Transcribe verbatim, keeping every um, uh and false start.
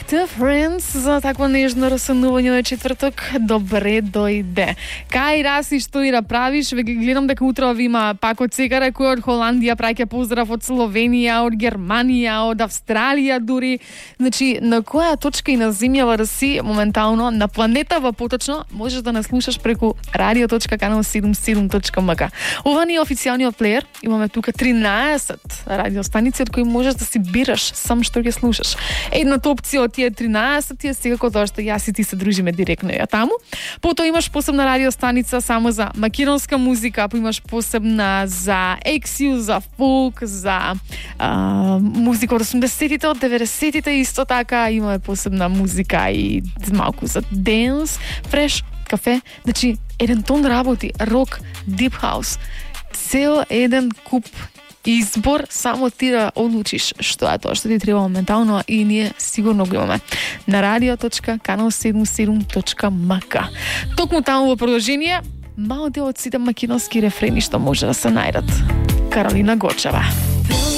The Friends за такво нежно расанување на четврток. Добре дојде. Кај раси што и да правиш, ве гледам дека утре има пак од сега кој од Холандија праќа поздрав, од Словенија, од Германија, од Австралија дури. Значи, на која точка и на земјава да си моментално, на планетава поточно, можеш да нас слушаш преку радио точка канал седумдесет и седум точка ем ка. Ова ни е официјалниот плеер. Имаме тука тринаесет радиостаници од кои можеш да си бираш сам што ќе слушаш. Едната опција од тие тринаесет е секако тоа што јас и ти се дружиме директно ја таму. Потоа имаш посебна радиостаница само за македонска музика, па имаш посебна за ексју, за фолк, за а, музика од осумдесетите, од деветдесетите исто така. Имаме посебна музика и малку за денс, фреш, кафе. Значи, еден тон работи, рок, дип хаус. Цел еден куп избор, само ти да одлучиш што е тоа што ти треба моментално, и ние сигурно го имаме на радио точка канал седумдесет и седум точка ем ка. Токму таму во продолжение, мал дел од сите македонски рефрени што може да се најдат. Каролина Гочева.